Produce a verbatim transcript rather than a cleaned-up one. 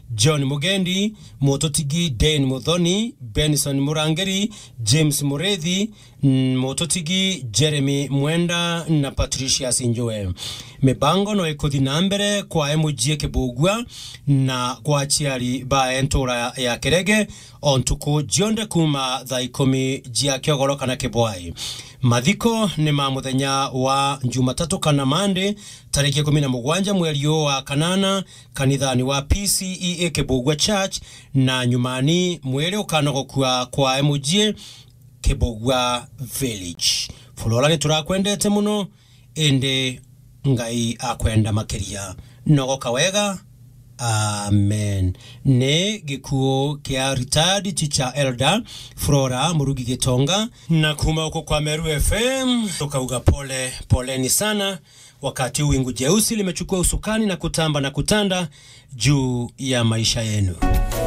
John Mugendi, Mututigi Dan Muthoni, Benson Murangiri, James Murithi, mm, Mututigi Jeremy Mwenda na Patricius Njue. Mibango no ikuthi na mbere kwa M G A Kibugua na kwa aciari ba ntura ya Kirege o ntuku cionthe kuuma thaa ikumi cia kiogoro kana kibwai. Mathiko ni ma muthenya wa Jumatatu kana Mande, tariki ikumi na mugwanja mweri uyu wa kanana, kanithani wa P C E A Kibugua Church, na nyumani mwiri ukanogokua kwa M G A Kibugua Village. Flora, ni turakwendete muno, indi Ngai akwenda makiria. Nogoka wega. Amen. Ni gikuo kia retired teacher elder Flora Murugi Gitonga. Na kuma huko kwa Meru F M, tukauga pole, poleni sana. Wakati huu wingu jeusi limechukua usukani na kutamba na kutanda juu ya maisha yenu.